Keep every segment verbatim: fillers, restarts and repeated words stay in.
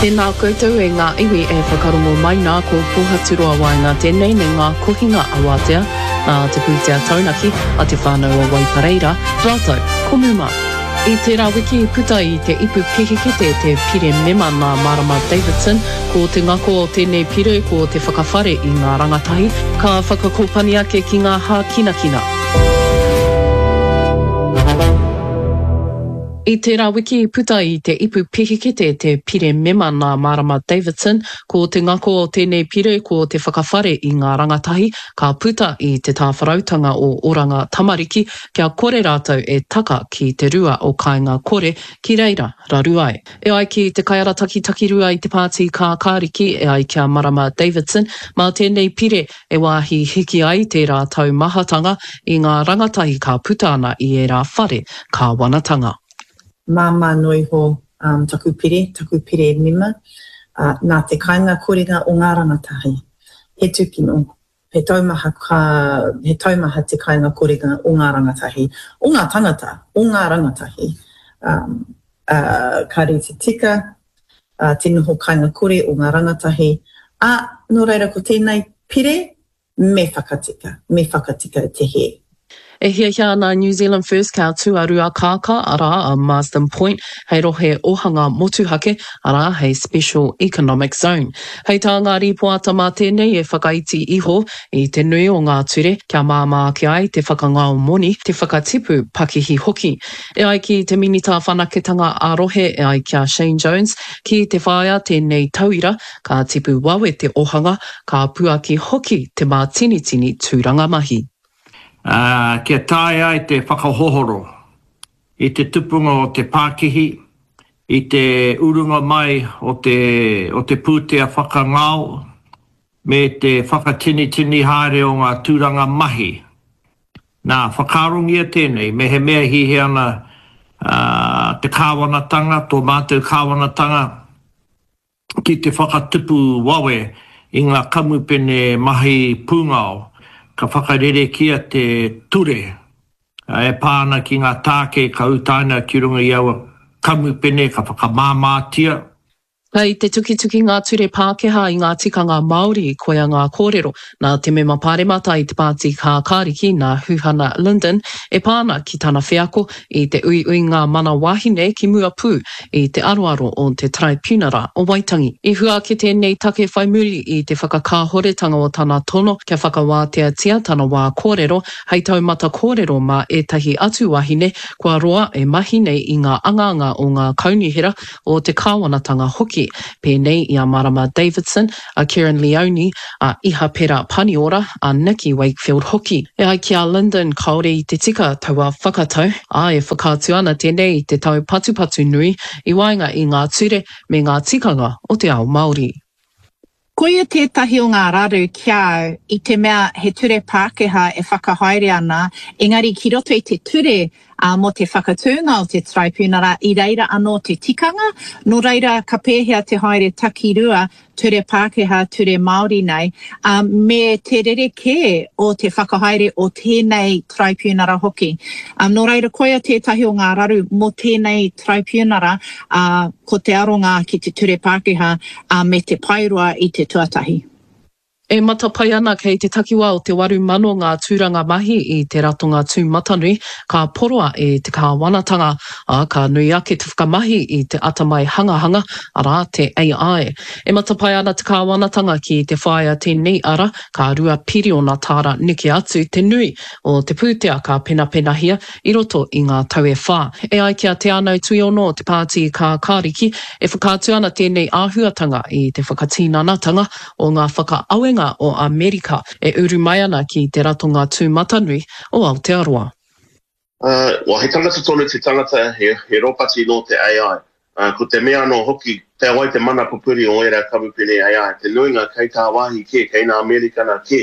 Tēnā koutou e ngā iwi e whakarongo mai nā ko Pōhaturoa Waenga tēnei me ngā kohinga awatea nā te pūtea taunaki a te whānau o Waipareira, rātou ko Muma. I tērā wiki i puta i te ipu pihikete te pire mema nā Marama Davidson, ko te ngako o tēnei pire ko te whakawhare i ngā rangatahi, ka whakakōpani ake ki ngā hākinakina. I tērā wiki i puta i te ipu pihikete te pire mema nā Marama Davidson, ko te ngako o tēnei pire ko te whakawhare i ngā rangatahi, ka puta i te tāwharautanga o Oranga Tamariki kia kore rātou e taka ki te rua o Kāinga Kore ki reira raru ai. E ai ki te kaiarataki takirua i te pāti Kākāriki e ai ki a Marama Davidson, mā tēnei pire e wāhi hiki ai tērā taumahatanga i ngā rangatahi ka puta ana i ērā whare kāwanatanga. Māmā noa iho um, taku pire, taku pire mema, uh, nā te kāinga korenga o ngā rangatahi. He tūkino, he taumaha, ka, he taumaha te kāinga korenga o ngā rangatahi, o ngā tangata, o ngā rangatahi. Um, uh, ka rite tika, uh, te noho kāinga kore o ngā rangatahi. Ā, nō reira ko tēnei pire, me whakatika, me whakatika te hē. E hiahia ana New Zealand First kia tū a Ruakākā, arā a Marsden Point, hei rohe ohanga motuhake, arā hei Special Economic Zone. Hei tā ngā rīpoata mā tēnei e whakaiti iho i te nui o ngā ture kia māmā ake ai te whakangao moni, te whakatipu pakihi hoki. E ai ki te Minita Whanaketanga ā-Rohe e ai ki a Shane Jones, ki te whāia tēnei tauira, ka tipu wawe te ohanga, ka puaki hoki te mātinitini tūranga mahi. Uh, kia taea ai te whakahohoro i te tupunga o te pākihi, i te urunga mai o te, o te pūtea whakangao, me te whakatinitini haere o ngā tūranga mahi. Nā, whakaarongia tēnei, me he mea hihi ana uh, te kāwanatanga, tō mātou kāwanatanga, ki te whakatupu wawe i ngā kamupene mahi pūngao, ka whakarerekia te ture e pā ana ki ngā tāke ka utaina ki runga i aua kamupene ka whakamāmātia. Kei te tukituki ngā ture Pākehā i ngā tikanga Māori, koia ngā kōrero nā te mema pāremata i te pāti Kākāriki nā Huhana Lyndon e pā ana ki tana wheako i te uiuinga mana wahine ki mua pū i te aroaro o te Taraipiunara o Waitangi. I hua ake tēnei take whai muri i te whakakāhoretanga o tana tono kia whakawāteatia tana wā kōrero hei taumata kōrero mā ētahi atu wahine kua roa e mahi nei i ngā angaanga o ngā kaunihera o te kāwanatanga hoki, pēnei i a Marama Davidson, a Kerrin Leoni, a Ihapera Paniora, a Nikki Wakefield hoki. E ai ki a Lyndon, kāore i te tika taua whakatau, ā, e whakaatu ana tēnei i te taupatupatu nui i waenga i ngā ture me ngā tikanga o te ao Māori. Koia tētahi o ngā raru ki a au i te mea he ture Pākehā e whakahaere ana, engari ki roto i te ture uh, mō te whakatūnga o te Taraipiunara i reira anō te tikanga, nō reira ka pēhea te haere takirua ture Pākehā, ture Māori nei, um, me te rerekē o te whakahaere o tēnei Taraipiunara hoki. Um, nō reira koia tētahi o ngā raru mō tēnei Taraipiunara, uh, ko te aronga ki te ture Pākehā uh, me te paeroa i te tuatahi. E matapae ana kei te takiwā o te waru mano ngā tūranga mahi i te ratonga tūmatanui ka poroa e te kāwanatanga, ā, ka nui ake te whakamahi i te atamai hangahanga, arā, te A I. E matapae ana te kāwanatanga ki te whāia tēnei ara, ka rua piriona tāra neke atu te nui o te pūtea ka penapenahia i roto i ngā tau e whā. E ai ki a Te Anau Tuiono o te Pāti Kākāriki, e whakaatu ana tēnei āhuatanga i te whakatinanatanga o ngā whakaawenga o Amerika e uru mai ana ki te ratonga tūmatanui o Aotearoa. Uh, well, he tangata tonu te tangata, he, he ropati nō te A I. Uh, ko te mea anō hoki, te wai te mana pupuri o ērā kamupene A I, te nuinga kei tāwāhi kē, kei nā Amerikana kē.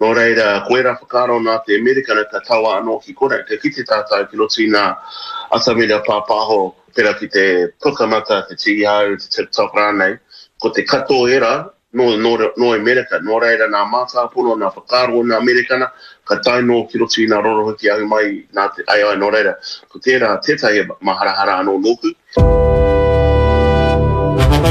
Nō reira, ko ērā whakaaro nā te Amerikana ka taua anō ki konei. Ka kite tātou ki roto i ngā atamira pāpāho, pērā ki te Pukamata, te Tīhau, te TikTok rānei, ko te katoa ērā nō, nō, nō Amerika. Nō reira, nā mātāpono, nā whakaaro nā Amerikana, ka tae nō ki roto i ngā rorohiki ahu mai nā te A I. Nō reira, ko tērā tētahi maharahara anō nōku.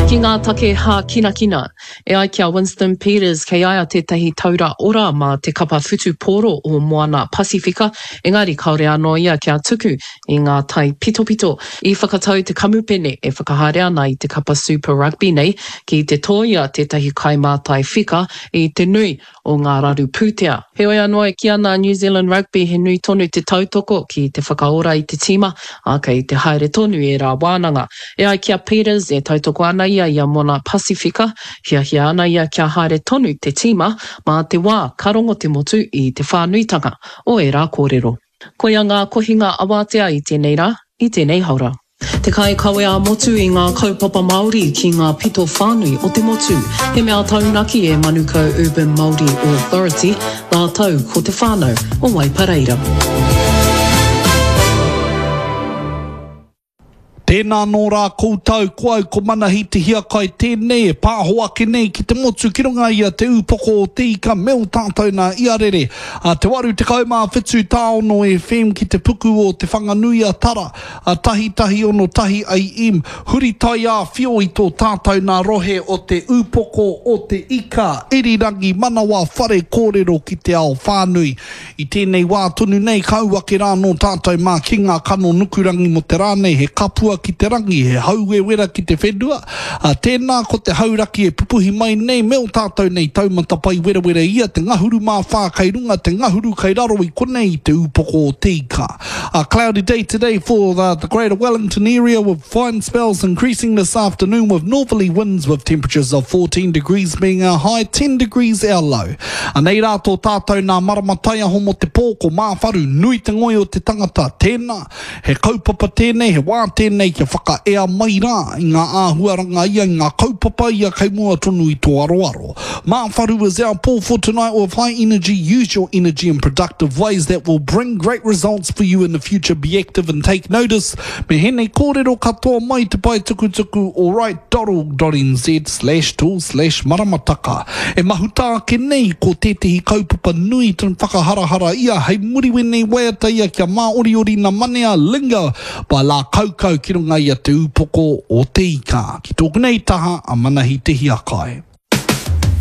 Ki ngā take hākinakina, e ai ki a Winston Peters kei a ia tētahi taura ora mā te kapa whutupōro o Moana Pasifika, engari kāore anō ia kia tuku i ngā taipitopito. I whakatau te kamupene e whakahaere ana i te kapa Super Rugby nei ki te tōia tētahi kaimātai whika i te nui o ngā raru pūtea. Heoi anō e kī ana a New Zealand Rugby he nui tonu te tautoko ki te whakaora i te tīma, ā, kei te haere tonu ērā wānanga. E ai ki a Peters, e tautoko ana ia i a Moana Pasifika, hiahia ana ia kia haere tonu te tīma mā te wā ka rongo te motu i te whānuitanga o ērā kōrero. Koia ngā kohinga awatea i tēnei rā, i tēnei haora. Te kaikawe ā-motu i ngā kaupapa Māori ki ngā pito whānui o te motu. He mea taunaki e Manukau Urban Māori Authority rātou ko te whānau o Waipareira. Tēnā nō rā koutou, ko au ko Manahi Te Hiakai tēnei e pāho ake nei ki te motu ki runga i a Te Ūpoko o Te Ika me ō tātou nā Iarere a te waru tekau mā whitu tāono FM ki te puku o Te Whanganui-a-Tara a tahi tahi ono tahi AM huri taiāwhio i tō tātou nā rohe o Te Ūpoko o Te Ika Irirangi Manawa Whare Kōrero ki te ao whānui. I tēnei wā tonu nei, ka ū ake rā nō tātou mā ki ngā kano nukurangi mō te rā nei, he kapua ki te rangi, he hauwewera ki te whenua, ā, tēnā ko te hauraki e pupuhi mai nei me ō tātou nei taumata pai werawera ia te ngahuru mā whā kei runga, te ngahuru kei raro i konei i te ūpoko o te ika. A cloudy day today for the, the Greater Wellington area with fine spells increasing this afternoon with northerly winds with temperatures of fourteen degrees being our high, ten degrees our low. Anei rā tō tātou nā marama taiaho mō te pō, ko Māwharu, nui te ngoi o te tangata, tēnā, he kaupapa tēnei, he wā tēnei kia whakaea mai rā i ngā āhuaranga ia, i ngā kaupapa ia kei mua tonu i tō aroaro. Māwharu is our pō for tonight with high energy, use your energy in productive ways that will bring great results for you in the future, be active and take notice. Me hēnei kōrero katoa mai te pae tukutuku alright dot org dot nz slash tool slash maramataka. E mahuta ake nei ko tētehi kaupapa nui tonu whakaharahara ia hei muri wēnei waiata ia kia māoriori na manea linger by La Kaukau ki runga i a Te Ūpoko o Te Ika. Ki tōku nei taha a Manahi Te Hiakai.